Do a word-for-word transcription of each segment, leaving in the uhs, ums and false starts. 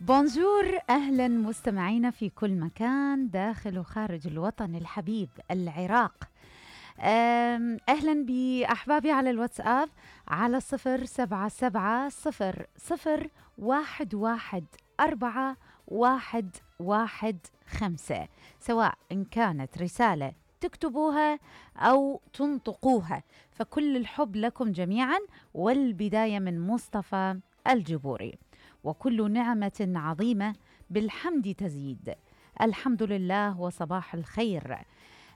بونجور، أهلا مستمعينا في كل مكان داخل وخارج الوطن الحبيب العراق. أهلا بأحبابي على الواتساب على صفر سبعة سبعة صفر صفر واحد واحد أربعة واحد واحد خمسة، سواء إن كانت رسالة تكتبوها أو تنطقوها، فكل الحب لكم جميعا. والبداية من مصطفى الجبوري: وكل نعمة عظيمة بالحمد تزيد، الحمد لله وصباح الخير.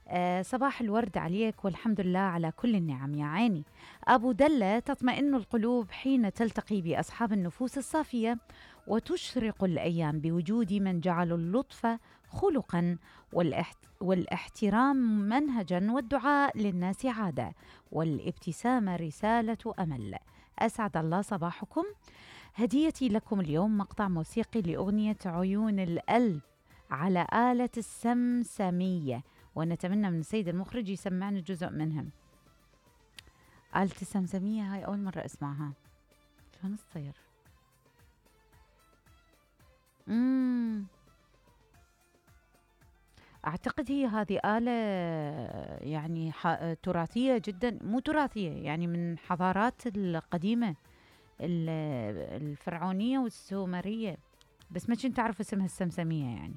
آه صباح الورد عليك والحمد لله على كل النعم يا عيني. أبو دلة: تطمئن القلوب حين تلتقي بأصحاب النفوس الصافية، وتشرق الأيام بوجود من جعل اللطف خلقا والاحت... والاحترام منهجا، والدعاء للناس عادة، والابتسامة رسالة أمل. أسعد الله صباحكم. هديتي لكم اليوم مقطع موسيقي لأغنية عيون القلب على آلة السمسمية، ونتمنى من السيد المخرج يسمعنا جزء منهم. آلة السمسمية هاي أول مرة أسمعها، شلون تصير؟ مم. أعتقد هي هذه آلة يعني تراثية جدا، مو تراثية يعني من حضارات القديمة الفرعونية والسومرية، بس ما كنت أعرف اسمها السمسمية يعني.